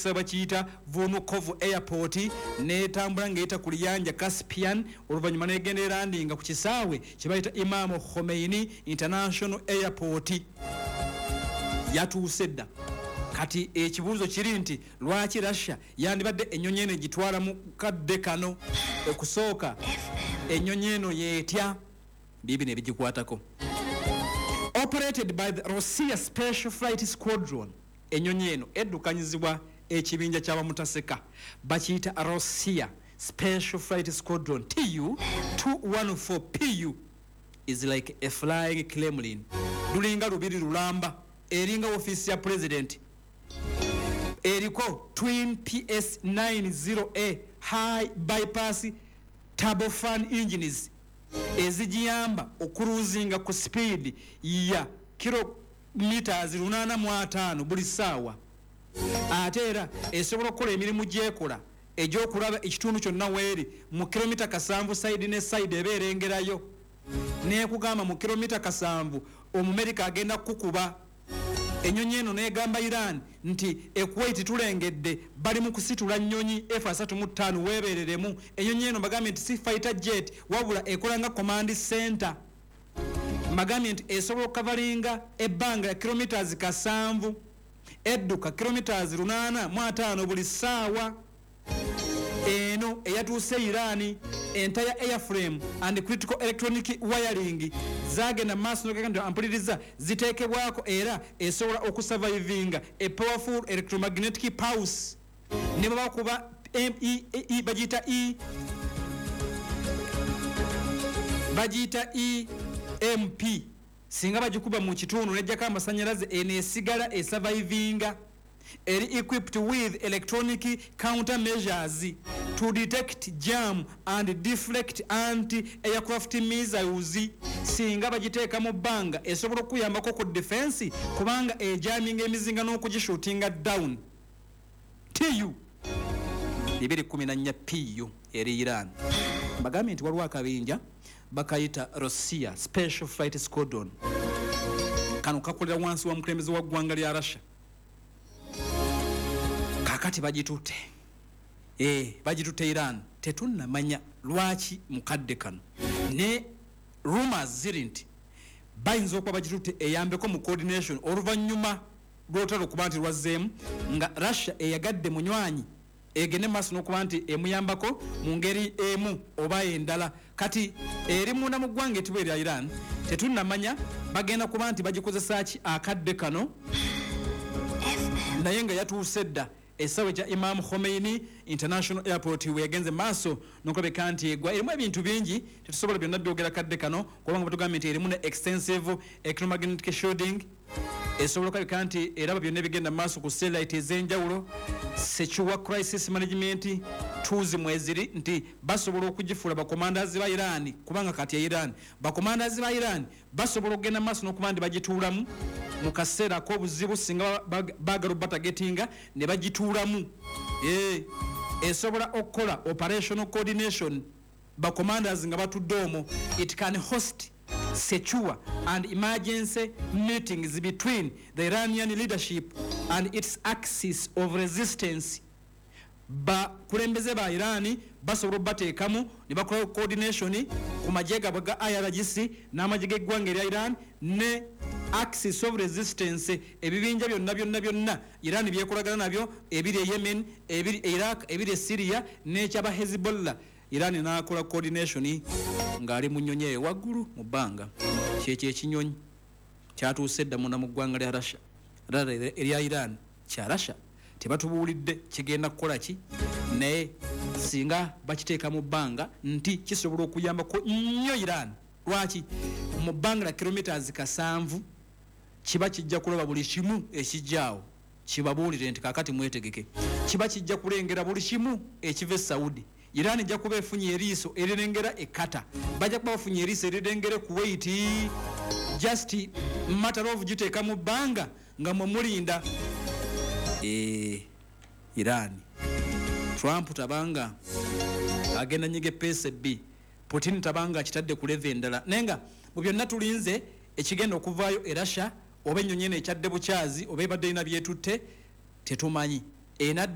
Bakiyita Vnukovo Airport, netambula ngaeyita ku liyanja Caspian, oluvannyuma negenda erandinga ku kisaawe kyebayita Imamu Khomeini International Airport. Yatuuse dda. Kati ekibuuzo kiri nti lwaki Russia yandibadde ennyonyi eno egitwala mu kadde kano? Okusooka, ennyonyi eno yeetya bibino ebigikwatako. Operated by the Rossiya Special Flight Squadron, ennyonyi eno eddukanyizibwa ekibinja kyabamutaseka bakiyita Rossiya Special Flight Squadron. Tu 214 PU is like a flying Kremlin, lulinga lubiri lulamba, eringa ofiisi ya president. Eriko twin PS 90A high bypass turbofan engines ezigiyamba okuruzinga ku speed ya kilometers 805 buli ssaawa. Ate era esobola okukola emirimu gyekola egyokulaba ekitundu kyonna weeri mu kilomita 70, side ne side eba erengerayo, nekugamba mu kilomita 70 Omumerika agenda kukuba. Ennyonyi eno negamba Iran nti Ekuwait tulengedde bali mu kusitula nnyonyi F35, weebereremu. Ennyonyi eno bagambye nti si fighter jet, wabula ekola nga command center. Mbagambye nti esobola okukavalinga ebbanga ya kilometers 70, edduka kilometers 805 buli ssaawa. Eno eyatuuse Iran, entire airframe and critical electronic wiring zagenda maaso nogenda ampuliriza ziteekebwako, era esobola okusurvivinga a powerful electromagnetic pulse ne babakuba bagiyita e bagiyita EMP. Singa bagikuba mu kitundu nejjako amasanyalaze, eno esigala esurvivinga. Eri equipped with electronic counter measures to detect, jam and deflect anti aircraft missiles. Singa bagiteeka mu bbanga, esobola okuyambako ku defense kubanga ejaminga emizinga n'okugishootinga down. Tu 214 PU eri Iran. Mbagambye nti waliwo akabinja bakayita Russia Special Flight Squadron. Kano kakolera wansi wa mukulembeze wa ggwanga lya Russia. Kakati bagitutte, bagitutte Iran, tetunnamanya lwaki mukadde kano. Ne rumors ziri nti bayinza okuba bagitutte eyambeko mu coordination oluvannyuma lw'olutalo okuba nti lwazzeemu, nga Russia eyagadde munywanyi egende maaso n'okuba nti emuyambako mu ngeri emu oba endala. Kati eri munda mu ggwanga etibwa erya Iran, tetunnamanya bagenda kuba nti bagikozesa ki akadde kano, naye nga yatuuse dda essaawa ekya Imam Khomeini International Airport we yagenze maaso nokulabika nti egwa. Erimu ebintu bingi, tetusobola byonna byogera kadde kano, kubanga batugambye nti erimu ne extensive electromagnetic shielding, esobola okulabika nti eraba byonna ebigenda mu maaso ku satellite ez'enjawulo. Secure crisis management tools mweziri, nti basobola okugifuula bacommanders ba Iran, kubanga kati e Iran bacommanders ba Iran basobola okugenda maaso n'okuba nti bagituulamu mu kaseera ak'obuzibu singa baagala obatagetinga ne bagituulamu. Esobola okukola operational coordination, bacommanders nga batudde omwo. It can host secure and emergency meetings between the Iranian leadership and its axis of resistance. Bakulembeze ba Irani basobola obateekamu ne bakola coordination ku magye gaabwe ga IRGC n'amagye g'eggwanga erya Iran ne axis of resistance, ebibinja byonna byonna byonna Iran byekolagana nabyo ebiri e Yemen, ebiri e Iraq, ebiri e Syria n'ekyaba Hezbollah. Iran n'akola coordination ng'ali mu nnyonyi eyo waggulu mu bbanga. Kyekyo ekinyonyi kyatuuse dda munda mu ggwanga lya Russia, erya Iran kya Russia. Tebatubuulidde kigenda kukola ki, naye singa bakiteeka mu bbanga nti kisobola okuyambako nnyo Iran. Lwaki? Mu bbanga la kilometers 70 kiba kijja kulaba buli kimu ekijjaawo, kibabuulire nti kakati mwetegeke. Kiba kijja kulengera buli kimu ekiva e Saudi. Iran ejja kuba efunye eriiso erirengera e Qatar, bajja kuba bafunye eriiso erirengera e Kuwait. Just matter of giteeka mu bbanga nga mwe mulinda. Iran, Trump tabanga agenda nyiga epeesa ebbi, Putin tabanga akitadde ku level endala, naye nga mu byonna tulinze ekigenda okuvaayo e Russia, oba ennyonyi eno ekyadde bukyazi oba ebadde erina byetutte, tetumanyi. Ena.